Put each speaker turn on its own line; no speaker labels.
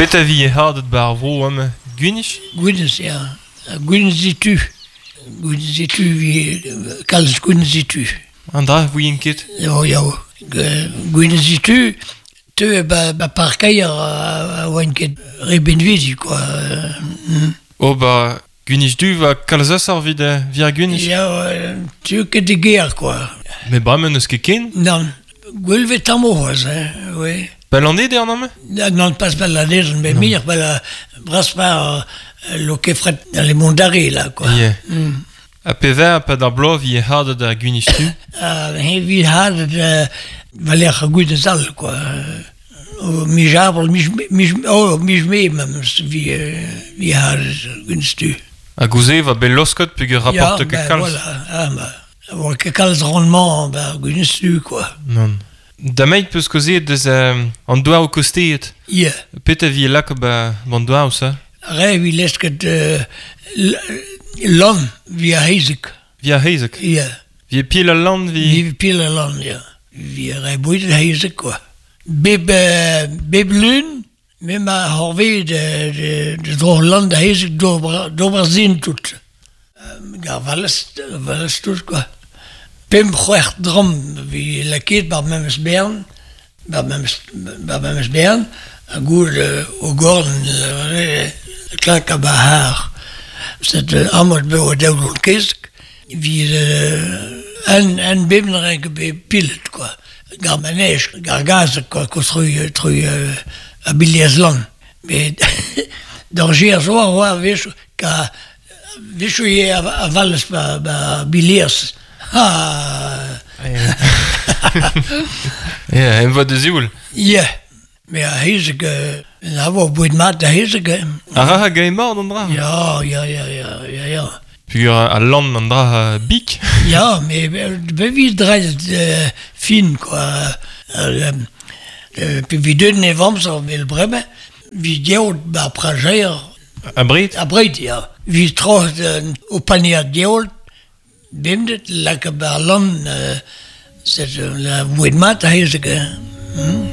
Petra vi hadet 'ba ar vro amañ? Gwinizh?
Gwinizh, ya. Gwinizh-tu. Gwinizh-tu vi kalz gwinizh-tu.
An dra 'ouien ket.
Eo, ya. Gwinizh-tu teu ba, ba parkeier a oan ket re binvidik, quoi.
Oh ba gwinizh-du va kalz asoc'h evit evit ar gwinizh.
Ya, tu ket de gêr, quoi.
Mais bremañ n'eus ket ken?
Nann. Gwell 'vez tammoù c'hoazh, hein, oui.
Ba Lanneder non mais?
Non, pas ba Lanneder, mais muioc'h ba braspañ Lokefret dans les Monts d'Arrée, là, quoi.
Yeah. Ha pevar pad ar bloaz vi hadet ar gwinizh-tu?
Ha vi hadet war-lerc'h ar gwinizh all, quoi. Miz avril, miz, miz, oh, miz mae memes vi, vi hadet ar gwinizh-tu.
Ha gouze va bet losket peogwir rapporte ket kalz.
Voilà, ah, bah, oa ket kalz rendement ba gwinizh-tu, quoi.
Non. Dameit peus kaozeet deus an douaroù kosteet.
Yeah.
Petra vi lakaet ba an douaroù ça?
Re vi lesket lann vi ar c'hezeg.
Vi ar c'hezeg?
Yeah.
Vi pil al lann vi...
Vi pil al lann, ya. Vi re boued ar c'hezeg, quoi. Bep, bep lun, me ma c'horvez de dro lann da c'hezeg d'ober sin tout. Gar vallez, vallez tout, quoi. Pemp c'hwec'h dramm vi lakaet bar memes bern, bar memes, bar memes bern, ha goude o gorn klakañ ba c'har. Set amañ eo daou kezeg evit un bep ne ket bet pilet quoi. Gar manège, gar gazeg quoi, konstruiñ trui a biliez lann. Met d'ar gêr zo a oa a-wechoù ka a-wechoù ivez a vallez ba ba biliez. Ha
Ya, em vo da sioul.
Ya, me ar c'hezeg a vo boued mat da c'hezeg.
A ra hag emañ an dra?
Ya, ya, ya, ya, ya, ya.
Peogwir al lann an dra bik.
Ya, mais be dreist fin quoi. Pe vi deuet ne amzer vel bremañ, vi geot bar prajer.
Abred?
Abred, ya. Vi troc'het o panier geot, bemdez laka bar lann, c'est la boued mat a hezeg.